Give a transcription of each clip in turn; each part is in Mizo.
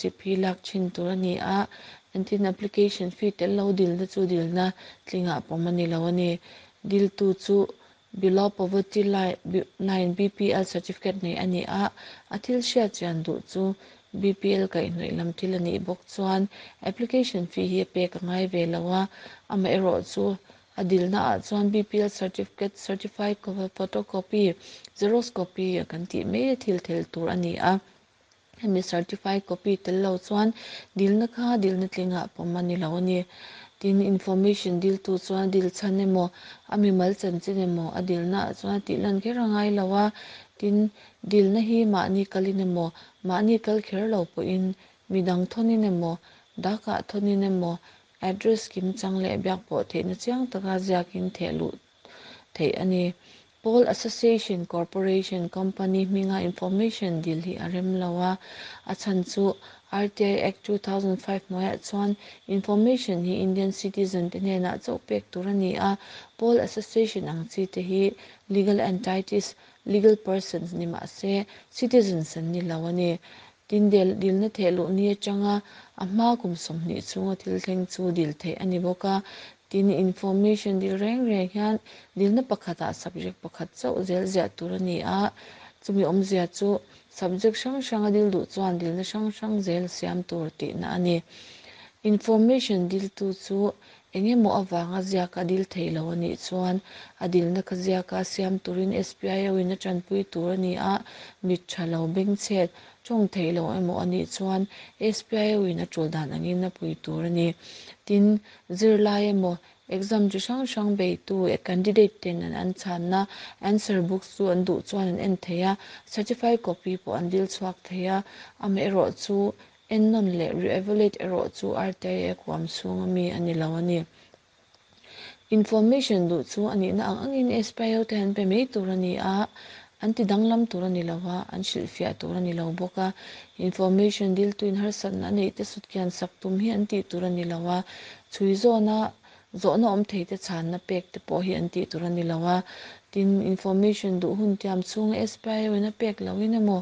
Chip hi lak thin tur a ni a, engtin application fee tel lo dilna chu dilna tlingah pawm a ni lo a ni. Diltu chu Below Poverty Line, BPL, certificate nei a ni a, a thil hriat chian duh chu BPL kaihhnawih lam thil a nih bawk chuan application fee hi a pek a ngai ve lo a, amaherawhchu a dilna ah chuan BPL certificate certified photocopy, xerox copy, a kan tih mai a thil tel tur a ni a. Hemi certified copy tel lo chuan dilna kha dilna tlingah pawm a ni lo a ni. Tin, information diltu chuan a dil chhan emaw, a mimal chanchin emaw a dilnaah chuan a tih lan kher a ngai lo a. Tin, dilna hi mahni kalin emaw, mahni kal kher lo pawhin midang thawnin emaw, dakah thawnin emaw, address kimchang leh biak pawh theihna chiang taka ziakin theh luh theih a ni. Pawl Association Corporation Company hminga information dil hi a rem lo a, a chhan chu RTI Act 2005 hnuaiah chuan information hi Indian citizen te hnenah chauh pek tur a ni a, Pawl Association ang chi te hi legal entities, legal persons ni mah se citizens an ni lo a ni. Tin, dilna theh luh ni atanga a hma kum 20 chhunga thil thleng chu dil theih a ni bawk a. Tin, information dil reng reng hian dilna pakhatah subject pakhat chauh zel ziah tur a ni a, chumi awmzia chu subject hrang hranga dil duh chuan dilna hrang hrang zel siam tur tihna a ni. Information diltu chu Eng emaw avanga ziaka dil thei lo a nih chuan a dilna kha ziaka siam turin SPIO in a tanpui tur a ni a, mit tha lo, bengchhet, tawng thei lo emaw a nih chuan SPIO in a tul dan angin a pui tur a ni. Tin, zirlai emaw, exam chi hrang hrang beitu, candidate ten an an chhanna answer books chu an duh chuan an en thei a, certified copy pawh an dil chhuak thei a, amaherawhchu Ennawn leh re-evaluate erawh chu RTI huam chhunga mi a ni lo a ni. Information duh chu a nihna ang angin SPIO te an pe mai tur a ni a, an ti danglam tur a ni lo a, an hrilhfiah tur a ni lo bawk a. Information diltuin harsatna a neih te sutkian sak tum hi an tih tur a ni lo a, chhui zawna zawhna awm thei te chhanna pek te pawh hi an tih tur a ni lo a. Tin, information duh hun tiam chhunga SPIO in a pek lohin emaw,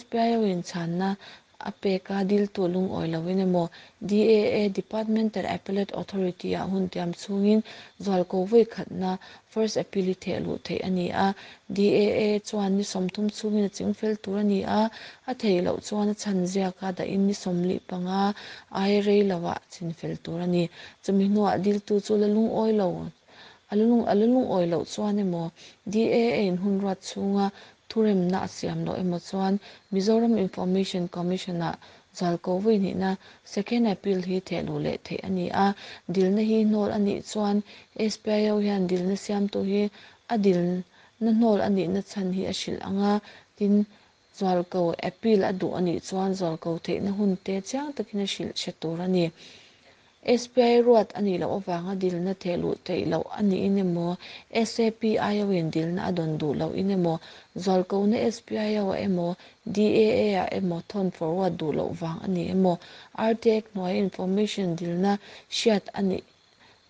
SPIO in chhanna A pek a, diltu lungawi loin emaw, DAA, Departmental Appellate Authority, ah hun tiam chhungin zualko vawi khatna, first appeal, hi theh luh theih a ni a. DAA chuan ni 30 chhungin a chingfel tur a ni a, a theih loh chuan a chhan ziaka dahin ni 45 ai rei loah chinfel tur a ni. Chumi hnuah diltu chu la lungawi lo a la lungawi loh chuan emaw, DAA in hun ruat chhunga Thuremna a siam loh emaw chuan Mizoram Information Commission-ah zualko vawi hnihna Second Appeal hi theh luh leh theih a ni a. Dilna hi hnawl a nih chuan SPIO hian dilna siamtu hi a dilna hnawl a nihna chhan hi a hrilh ang a, tin, zualko appeal a duh a nih chuan zualko theihna hun te chiang takin a hrilh hre tur a ni. SPI ruat a nih loh avanga dilna theh luh theih loh a niin emaw, SAPIO-in dilna a dawn duh loh in emaw, zualkona SPIO-ah emaw, DAA-ah emaw thawn forward duh loh vang a ni emaw, RTAC hnuaia information dilna hriat a nih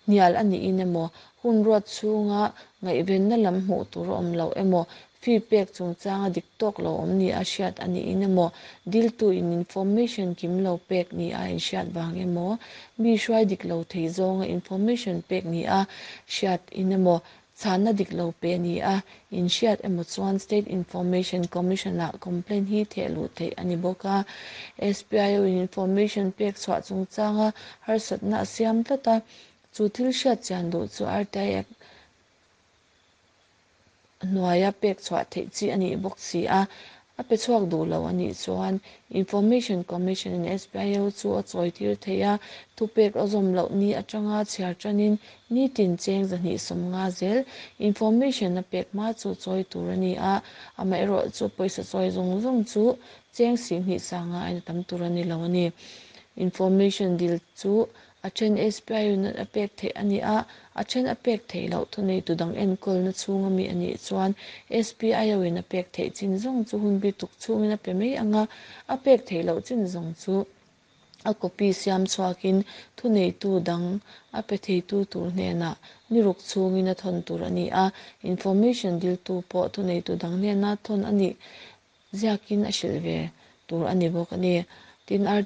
hnial a niin emaw, hun ruat chhunga ngaihvenna lam hmuh tur a awm loh emaw, Fee pek chungchanga dik tawk lo awm ni a hriat a niin emaw, diltu in information kim lo pek ni a inhriat vang emaw, mi hruai dik lo thei zawnga information pek ni a hriat in emaw, chhanna dik lo pe ni a inhriat emaw chuan State Information Commission ah complaint hi theh luh theih a ni bawk a. SPIO in information pek chhuah chungchanga harsatna a siam tlat a, chu thil hriat chian duh chu RTI Act hnuaia pek chhuah theih chi a nih bawk si a, a pe chhuak duh lo a nih chuan Information Commission in SPIO chu a chawi tir thei a, thupek a zawm loh ni atanga chhiar tanin nitin cheng 250 zel information a pek hma chu chawi tur a ni a, amaherawhchu pawisa chawi zawng zawng chu cheng 25,000 ain a tam tur a ni lo a ni. Information dil chu A then SPI unit a pek theih a ni a, a then a pek theih loh thuneitu dang enkawlna chhunga mi a nih chuan SPIO in a pek theih chin zawng chu hun bi tuk chhungin a pe mai ang a, a pek theih loh chin zawng chu a copy siam chhuakin thuneitu dang a pe theitu tur hnenah ni ruk chhungin a thawn tur a ni a, information diltu pawh thuneitu dang hnena thawn a nih ziakin a hrilh ve tur a ni bawk a ni. Tin, RTI.